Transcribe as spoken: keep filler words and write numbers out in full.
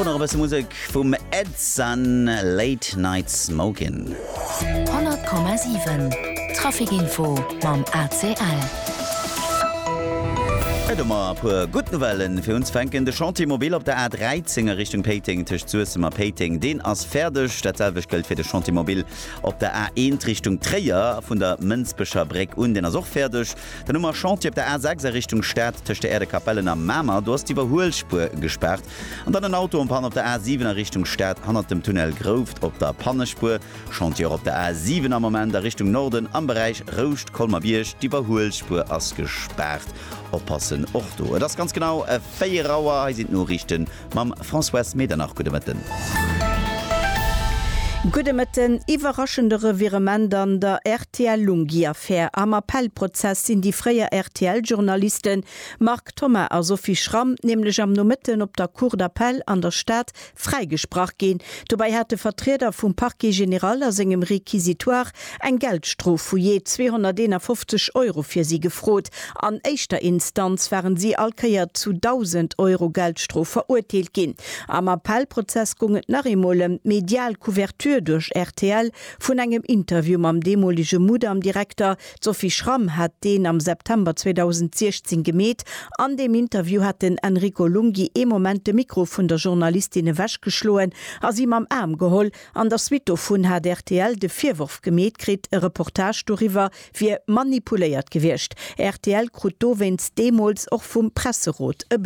Virdrun nach e bësse Musek vum Ed Sun, Late Night Smokin'. honnert Komma siwen Trafic Info mam A C L. Et hu mer e puer gutt Nouvellen fir unzefänken. De Chantier mobile op der A dräizéng a Richtung Péiteng tëscht Suessem a Péiteng, deen ass fäerdeg. Dat selwecht gëllt fir de Chantier mobile op der A eent Richtung Tréier vun der Mënsbecher Bréck un, deen ass och fäerdeg. Dann hu mer e Chantier op der A sechs a Richtung Stad tëscht der Aire de Capellen a Mamer, do ass d'Iwwerhuelspuer gespaart. An dann en Auto en panne op der A siwen a Richtung Stad hannert dem Tunnel Grouft op der Pannespuer. Chantier och op der A siwen am Moment a Richtung Norden am Beräich Rouscht-Colmer-Bierg, d'Iwwerhuelspuer ass gespaart. Oppassen och do. Et ass ganz genau véier Auer, hei sinn d'Noriichte mam Françoise Medernach. Gudde Mëtten. Gudde Mëtten. Iwwerraschende Revirement an der R T L-Lunghi-Affär. Am Appellprozess sinn déi fréier R T L-Journalisten Marc Thoma a Sophie Schramm nämlech am Nomëtten op der Cour d'appel an der Stad fräigesprach ginn. Dobäi hat de Vertrieder vum Parquet général a sengem Réquisitoire eng Geldstrof vu jee zweehonnerteenafofzeg Euro fir si gefrot. An éischter Instanz waren si all Kéier zu dausend Euro Geldstrof verurteelt ginn. Am Appellprozess goung et nach eemol ëm d'medial Couverture duerch R T L vun engem Interview mam deemolege Mudam-Direkter. D'Sophie Schramm hat deen am September zweedausendsiechzéng gemeet. An deem Interview hat den Enrico Lunghi ee Moment de Mikro vun der Journalistin ewechgeschloen a si mam Aarm geholl. An der Suite dovun hat R T L de Virworf gemeet kritt, e Reportage doriwwer wier manipuléiert gewiescht. R T L krut dowéinst deemools och vum Presserot e